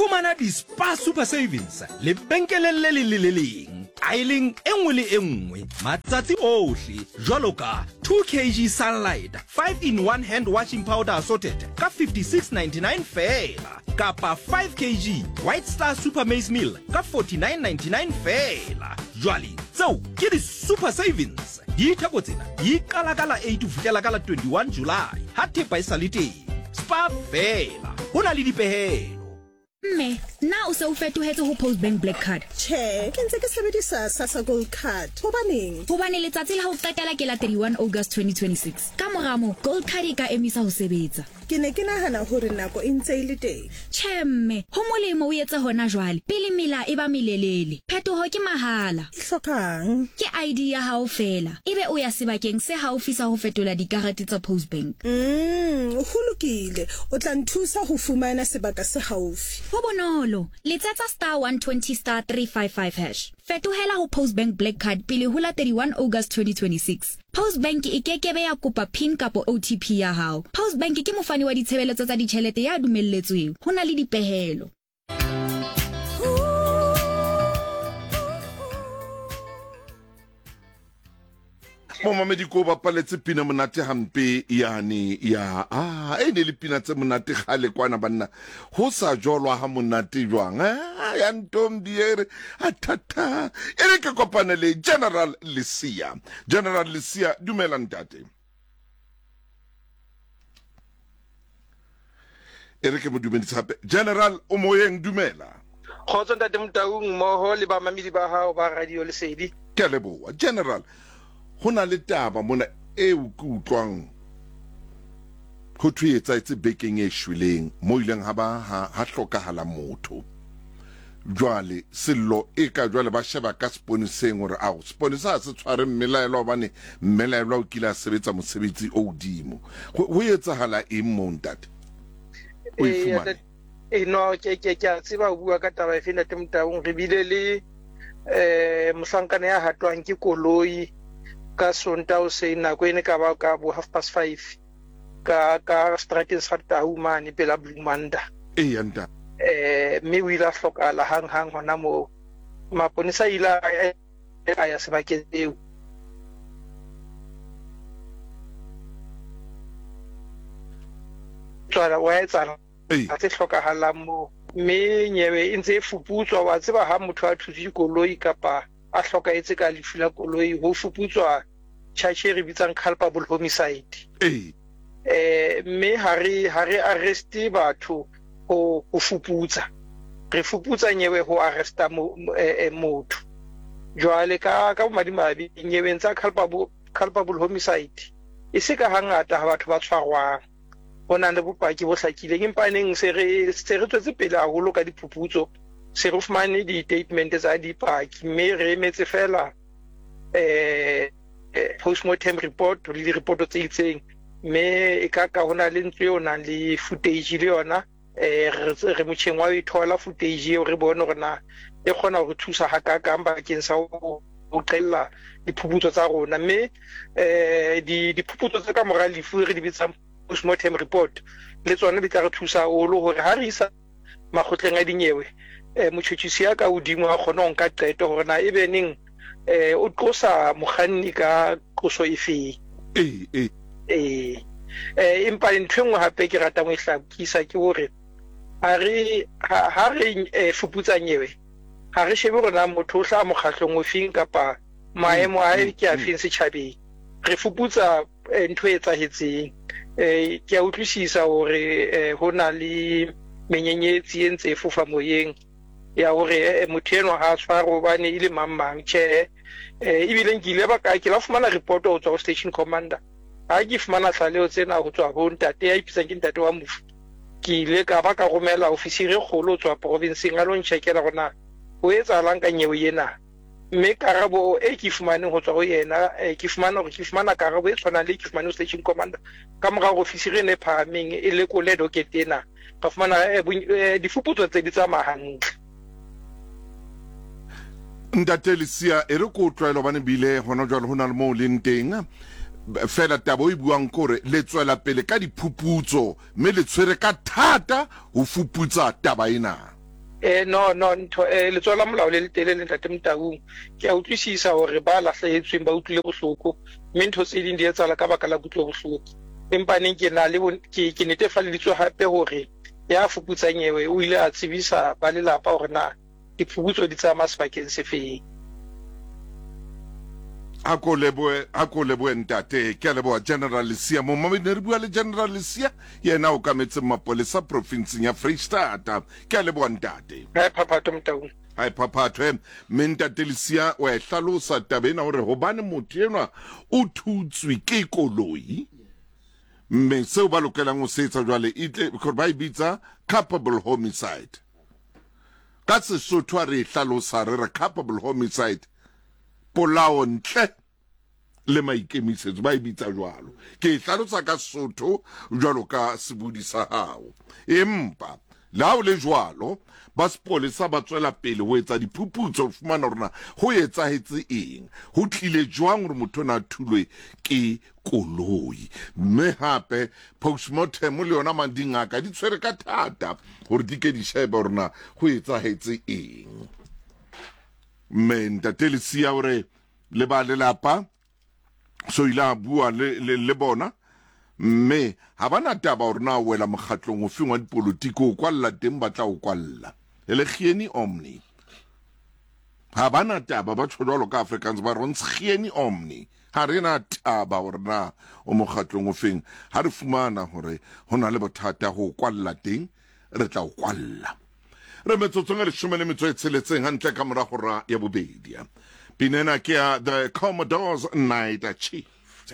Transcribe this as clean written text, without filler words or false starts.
Fumana di-Spar Super Savings lebenkeleng le leng le le leng, aeleng e nngwe le e nngwe, matsatsi ohle, jwalo ka 2 kg Sunlight 5 in 1 hand washing powder assorted ka 56.99 feela, kapa 5 kg White Star Super Maize Meal ka 49.99 feela. Jwale tseo ke di-Super Savings. Ditheko tsena di qala ka la 8 ho fihlela ka la 21 July ha thepa e sa le teng. Spar feela, ho na le dipehelo. Mme, na o se o fetohetse ho Postbank Black Card? Tjhe, ke ntse ke sebedisa Sassa Gold Card. Hobaneng? Hobane letsatsi la ho qetela ke la 31 August 2026. Ka mora moo, Gold Card e ka emisa ho sebetsa. Ke ne ke nahana hore nako e ntse e le teng. Tjhe mme, ho molemo o etse hona jwale, pele mela e ba melelele. Phetoho ke mahala. E hlokang? Ke ID ya hao feela, ebe o ya sebakeng se haufi sa ho fetola dikarete tsa Postbank. Umm, ho lokile. O tla nthusa ho fumana sebaka se haufi. Ho bonolo. Letsetsa star 120 star 355 hash. Fetohela ho Postbank Black Card pele ho la 31 August 2026. Postbank e ke ke be ya kopa pin kapo OTP ya hao. Postbank ke mofani wa ditshebeletso tsa ditjhelete ya dumelletsweng. Ho na le dipehelo. Momamedi ko bapaletse pina monate hampe yane ya a e ne le pina tse monate kgale kwana banna ho sa jolwa ha monate jwang ah, ya ntombi e re athata e re ke kopane le General Lesia. General Lesia, dumela ntate. E re ke mo dumedise gape. General o moyeng, dumela. Kgotso ntate Motaung mmoho le bamamedi ba hao ba Radio Lesedi. Ke a leboha. General, ho na le taba mona eo ke utlwang ho thwe e etsahetse bekeng e shweleng mo ileng ha ba ha, ha hlokahala motho. Jwale sello e ka jwale ba sheba ka seponeseng hore ao seponesa ha se tshware mmelaelwa hobane mmelaelwa o kile a sebetsa mosebetsi o hodimo. Ho, ho etsahala eng moo ntate? O e fumane? E no ke ke ke a tseba o bua ka taba efe ntate Motaung. Re bile le eh mohlankana ya hatwang ke koloi ka Sontaha hoseng nako e ne ka ba ka bo 5:30 ka ka strateng sa Tau mane pela Blue Manda. Eya ntate. Eh mme o ile a hlokahala hang hang hona moo. Maponesa a ile a ya sebakeng seo. Tswala wa etsahala tse hlokahalang moo, mme nyewe e ntse e fuputswa. Wa tseba ha motho a thutse koloi kapa a hlokahetse ka lefu la koloi, ho fuputswa charge e re bitsang culpable homicide. Eh, mme ha re ha re arreste batho ho ho fuputsa, re fuputsa nyewe ho arresta motho. Jwale ka ka bomadimabe nyeweng tsa culpable culpable homicide e se ka hangata ha batho ba tshwarwang ho nang le bopaki bo hlakileng, empa neng se re se re tswetse pele haholo ka diphuputso, se re fumane di-statement tsa dipaki, mme re emetse feela eh postmortem report le direpoto tse itseng, mme e ka ka ho na le ntlo eo nang le footage le yona eh re motjheng wa ho e thola footage eo, re bone hore na e kgona ho re thusa hakakang bakeng sa ho qella diphuputso tsa rona. Mme eh diphuputso tse ka mora lefu re di bitsang postmortem report le tsona di tla re thusa haholo hore ha re isa makgotleng a dinyewe eh motjhotjhisi ya ka hodimo a kgone ho nka qeto hore na ebe neng eh o qosa mokganni ka qoso efeng. Ee, ee. Ee. Eh, empa ntho e nngwe hape ke ratang ho e hlakisa ke hore ha re ha re eh, fuputsa nyewe ha re shebe hore na motho o hlaha mokgahlong ofeng kapa maemo a hae ke afeng setjhabeng. Re fuputsa eh, ntho e etsahetseng. Eh, ke a utlwisisa hore eh, ho na le menyenyetsi e ntse e fofa moyeng ya hore eh, motho enwa ha a tshwarwe hobane e le mang mang. Tjhe, eh, ebile nkile ba ka ke la fumana report ho tswa ho station commander. Ha ke fumana tlaleho tsena ho tswa ho ntate ya ipitsang ke ntate wa mofu, ke ile ka ba ka romela ofisiri e kgolo ho tswa provinseng a lo ntjhekela hore na ho etsahalang ka nyewe ena. Mme karabo e ke fumaneng ho tswa ho yena, ke fumana hore ke fumana karabo e tshwanang le e ke fumaneng ho station commander. Ka mora hore ofisiri ena e phahameng e lekole docket ena, ra fumana difuputso tse di tsamaya hantle. Ntate Lesia, e re ko tlwaelo hobane bile hona jwale ho na le moo leng teng. Feela taba o e buang ke hore le tswela pele ka diphuputso mme le tshwere ka thata ho fuputsa taba ena. Eh, no, no, ntho, eh, letsoho la molao le letelele, Ntate Motaung. Ke a utlwisisa hore ba lahlehetsweng ba utlwile bohloko, mme ntho tse ding di etsahala ka baka la kutlobohloko. Empa neng ke na le ke, ke netefalleditswe hape hore ya fuputsang nyewe o ile a tsebisa ba lelapa hore na diphuputso di tsamaya sebakeng se feng. A ko lebohe, a ko lebohe ntate. Ke a leboha General Lesia. Momamedi, ne re bua le General Lesia, yena a okametseng mapolesa profinseng ya Freistata. Ke a leboha ntate. Ha e phaphathwe Motaung. Ha e phaphathwe. Mme ntate Lesia wa e hlalosa taba ena hore hobane motho enwa o thutswe ke koloi, mme seo ba lokelang ho se etsa jwale e tle gore ba e bitsa culpable homicide. Ka Sesotho a re e hlalosa re re culpable homicide, polao ntle le maikemisetso, ba e bitsa jwalo. Ke e hlalosa ka Sesotho jwalo ka sebodi sa hao. Empa le ha o le jwalo, ba sepolesa ba tswela pele ho etsa diphuputso ho fumana hore na ho etsahetse eng, ho tlile jwang hore motho ona a thulwe ke koloi. Mme hape postmortem le yona mang dingaka di tshwere ka thata hore di ke di shebe hore na ho etsahetse eng. Mme ntate Lesia o re le ba lelapa so ile a bua le, le, le bona mme ha ba na taba hore na o wela mokgatlong ofeng wa dipolotiki, o kwalla teng ba tla o kwalla e le gieni omni. Ha ba na taba, ba tjho jwalo ka Afrikaans ba re ons gieni omni. Ha re na taba hore na o mokgatlong ofeng, ha re fumana hore ho na le bothata ho o kwalla teng re tla o kwalla. Re metsotsong e leshome le metso e tsheletseng hantle ka mora hora ya bobedi. Pina ena ke ya The Commodores Night Shift.